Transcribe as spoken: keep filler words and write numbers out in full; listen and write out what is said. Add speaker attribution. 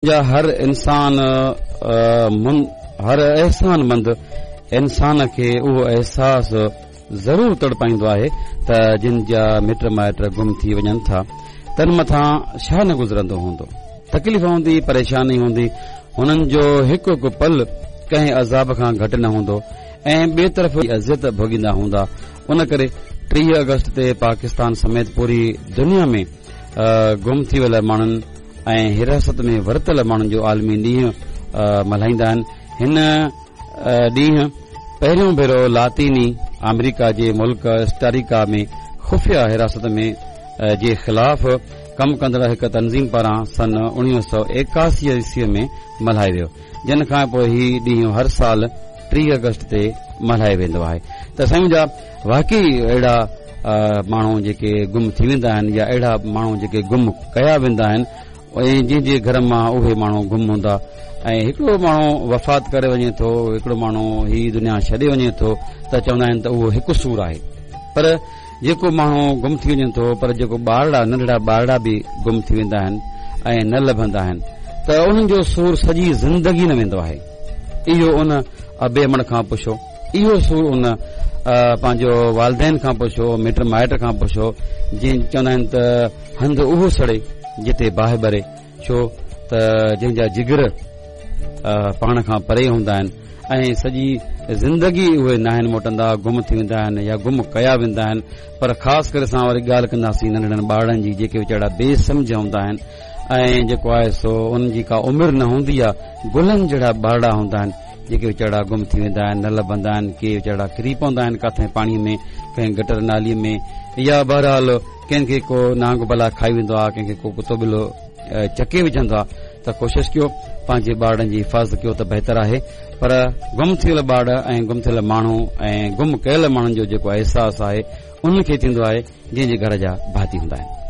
Speaker 1: جا هر انسان هر احسان مند انسان کي اهو احساس ضرور تڙپائيندو آهي ته جن جا مٽ مائٽ گم ٿي وڃن ٿا تن مٿان ڇا نه گذرندو هوندو. تڪليف هوندي، پريشاني هوندي، هنن جو هڪ هڪ پل ڪنهن عذاب کان گهٽ نه هوندو ۽ ٻئي طرف اذيت ڀوڳيندا هوندا. ان ڪري ٽيهه آگسٽ تي پاڪستان سميت پوري دنيا ۾ گم ٿي ويل ماڻهن ۽ حراست ۾ ورتل ماڻهن جو عالمي ڏينهن ملهائيندا آهن. هن ڏينهن پهريون ڀيرو لاطيني آمريڪا جي ملڪ ڪوسٽاريڪا ۾ خفيه حراست ۾ جي خلاف ڪم ڪندڙ هڪ تنظيم پاران سن اڻويهه سؤ ايڪاسي عيسوي ۾ ملهايو ويو، جنهن کان پوء هي ڏينهن هر سال ٽيهه آگسٽ تي ملهايو ويندو آهي. ته سائين جا واقعي اهڙا ماڻهو جيڪي گم ٿي ويندا آهن يا اهڙا ماڻهو جيڪي گم ڪيا ويندا آهن ۽ جنهن جي گهر مان اهي ماڻهو گم هوندا ۽ هڪڙو ماڻهو وفات ڪري وڃي ٿو، هڪڙو ماڻهو هي دنيا ڇڏي وڃي ٿو ته چوندا آهن ته اهو هڪ سور آهي، پر جيڪو ماڻهو گم ٿي وڃي ٿو، پر جيڪو ٻارڙا ننڍڙا ٻارڙا به گم ٿي ويندا آهن ۽ نه لڀندا آهن ته انهن جو سور سڄي زندگي نه ويندو آهي. اهو ان ابي امڙ کان پڇو، اهو سور ان پنهنجو والدين کان پڇو، مٽ مائٽ کان پڇو، جن چوندا آهن ته هنڌ اهو سڙي جتي باهه ٻري، ڇو ته جنهن جا جگر پاڻ کان پري هوندا آهن ۽ سڄي زندگي اهي ناهن موٽندا، گم ٿي ويندا آهن يا گم ڪيا ويندا آهن. پر خاص ڪري اسان وري ڳالهه ڪنداسين ننڍڙن ٻارڙن جي جيڪي ويچارا بي سمجهه هوندا آهن ۽ جيڪو آهي سو انهن جي ڪا عمر نه هوندي آهي، گلن جهڙا ٻارڙا هوندا آهن جيڪي ويچارا گم ٿي ويندا آهن، نه لڀندا آهن، ڪي ويچارا ڪري پوندا آهن ڪاٿي پاڻيء ۾ ڪنهن گٽر ناليء ۾ يا بهرحال ڪنهن کي ڪو نانگ بلا کائي ويندو آهي، ڪنهن کي ڪو ڪتو ٻلو چڪي وجهندو آهي. ته ڪوشش ڪيو پنهنجي ٻارڙن جي حفاظت ڪيو ته بهتر آهي. پر گم ٿيل ٻار ۽ گم ٿيل ماڻهو ۽ گم ڪيل ماڻهن جو جيڪو احساس آهي انهن کي ٿيندو آهي جنهن جي گهر جا ڀاتي هوندا آهن.